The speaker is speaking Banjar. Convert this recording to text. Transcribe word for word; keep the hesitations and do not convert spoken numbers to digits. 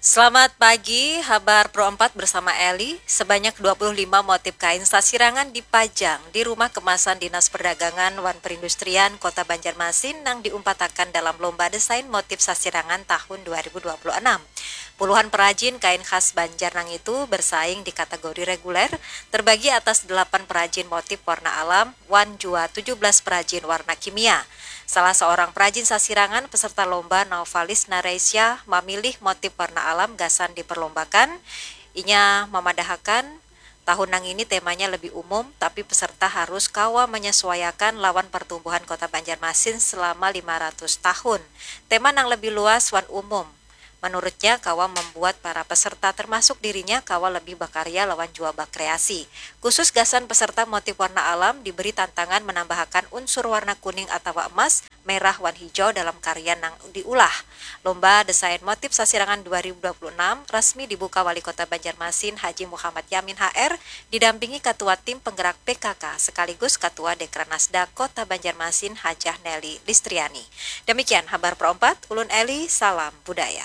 Selamat pagi, Habar Pro empat bersama Eli. Sebanyak dua puluh lima motif kain sasirangan dipajang di Rumah Kemasan Dinas Perdagangan wan Perindustrian Kota Banjarmasin nang diumpatakan dalam Lomba Desain Motif Sasirangan tahun dua ribu dua puluh enam. Puluhan perajin kain khas Banjar nang itu bersaing di kategori reguler, terbagi atas delapan perajin motif warna alam, wan jua tujuh belas perajin warna kimia. Salah seorang perajin sasirangan peserta lomba, Naufalis Nareisya, mamilih motif warna alam gasan diperlombakan. Inya mamadahakan, tahun nang ini temanya lebih umum, tapi peserta harus kawa menyesuaiakan lawan pertumbuhan Kota Banjarmasin selama lima ratus tahun. Tema nang lebih luas wan umum, menurutnya, kawa membuat para peserta, termasuk dirinya, kawa lebih bakarya lawan jua bakreasi. Khusus gasan peserta motif warna alam, diberi tantangan menambahakan unsur warna kuning atawa emas, merah, wan hijau dalam karya nang diulah. Lomba Desain Motif Sasirangan dua ribu dua puluh enam rasmi dibuka Wali Kota Banjarmasin Haji Muhammad Yamin H R, didampingi Ketua Tim Penggerak P K K sekaligus Ketua Dekranasda Kota Banjarmasin Hajah Nelly Listriani. Demikian Habar Pro empat, ulun Eli, salam budaya.